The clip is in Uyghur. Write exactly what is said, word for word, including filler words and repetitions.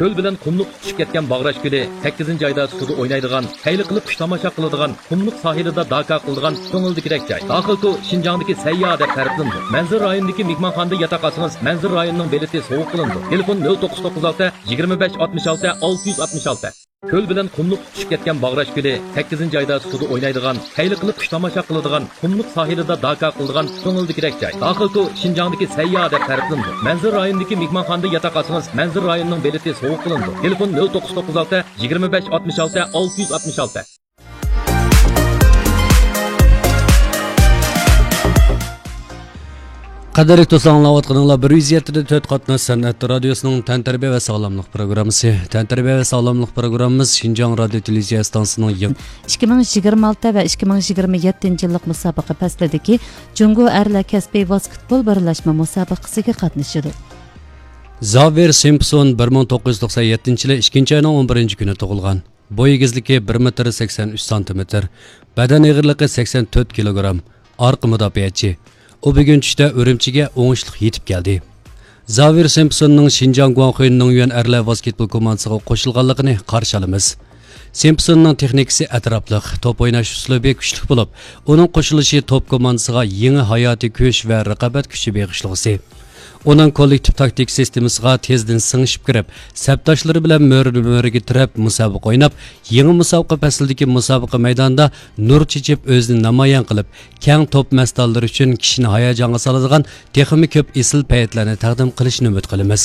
كۆل بىلەن قۇملۇق تۇتىشىپ كەتكەن باغراش كۆلى سەككىزىنچى ئايدا سۇدا ئوينايدىغان، خەيلى قىلىپ قۇش تاماشا قىلىدىغان، قۇملۇق ساھىلىدا داكا قىلىدىغان كۆڭۈلدىكىدەك جاي. داخىلكو شىنجاڭدىكى سەيياھ دەپ تەرىپلىنىدۇ. مەنزىرە رايونىدىكى مېھمانخانىدا ياتاق ئالسىڭىز، مەنزىرە رايونىنىڭ بېلىتى سوۋغا قىلىنىدۇ. تېلېفون: نۆل توققۇز توققۇز ئالتە، يىگىرمە بەش، ئاتمىش ئالتە، ئالتە يۈز ئاتمىش ئالتە. كۆل بىلەن قۇملۇق تۇتۇشۇپ كەتكەن باغراش كۆلى سەككىزىنچى ئايدا سۇدا ئوينايدىغان، خەيلى قىلىپ قۇش تاماشا قىلىدىغان، قۇملۇق ساھىلىدا داكا قىلىدىغان كۆڭۈلدىكىدەك جاي. داخىلكو شىنجاڭدىكى سەيياھ دەپ تەرىپلىنىدۇ. مەنزىرە رايونىدىكى مېھمانخانىدا ياتاق ئالسىڭىز، مەنزىرە رايونىنىڭ بېلىتى سوۋغا قىلىنىدۇ. تېلېفون: نۆل توققۇز توققۇز ئالتە، يىگىرمە بەش، ئاتمىش ئالتە، ئالتە يۈز ئاتمىش ئالتە. قەدىرلىك دوستلار، ئاڭلاۋاتقىنىڭلار بىر يۈز يەتتە تۆت قاتناش سەنئەت رادىيوسىنىڭ تەنتەربىيە ۋە ساغلاملىق پروگراممىسى. تەنتەربىيە ۋە ساغلاملىق پروگراممىمىز شىنجاڭ رادىيو تېلېۋىزىيە ئىستانسىسىنىڭ يېڭى ئىككى مىڭ يىگىرمە ئالتە ۋە ئىككى مىڭ يىگىرمە يەتتىنچى يىللىق مۇسابىقە پەسلىدىكى جۇڭگو ئەرلەر كەسپىي ۋاسكېتبول بىرلەشمە مۇسابىقىسىگە قاتنىشىدۇ. زاۋېر سىمپسون بىر مىڭ توققۇز يۈز توقسان يەتتىنچى يىلى ئىككىنچى ئاينىڭ ئون بىرىنچى كۈنى تۇغۇلغان. بوي ئېگىزلىكى بىر مېتىر سەكسەن ئۈچ سانتىمېتىر، بەدەن ئېغىرلىقى سەكسەن تۆت كىلوگرام، ئارقا مۇداپىئەچى. ئۇ بۈگۈن چۈشتە ئۈرۈمچىگە ئوڭۇشلۇق يېتىپ كەلدى. زاۋېر سىمپسوننىڭ شىنجاڭ گۇاڭخۇي نىڭيۈەن ئەرلەر ۋاسكېتبول كوماندىسىغا قوشۇلغانلىقىنى قارشى ئالىمىز. سىمپسوننىڭ تېخنىكىسى ئەتراپلىق، توپ ئويناش ئۇسلۇبى كۈچلۈك بولۇپ، ئۇنىڭ قوشۇلۇشى توپ كوماندىسىغا يېڭى ھاياتىي كۈچ ۋە رىقابەت كۈچى بېغىشلىغۇسى. ئۇنىڭ كوللېكتىپ تاكتىك سىستېمىسىغا تېزدىن سىڭىشىپ كىرىپ، سەپداشلىرى بىلەن مۈرىدىن مۈرىگە تىرەپ مۇسابىقە ئويناپ، يېڭى مۇسابىقە پەسلىدىكى مۇسابىقە مەيدانىدا نۇر چېچىپ ئۆزىنى نامايان قىلىپ، كەڭ توپ مەستانلىرى ئۈچۈن كىشىنى ھاياجانغا سالىدىغان تېخىمۇ كۆپ ئېسىل پەيتلەرنى تەقدىم قىلىشىنى ئۈمىد قىلىمىز.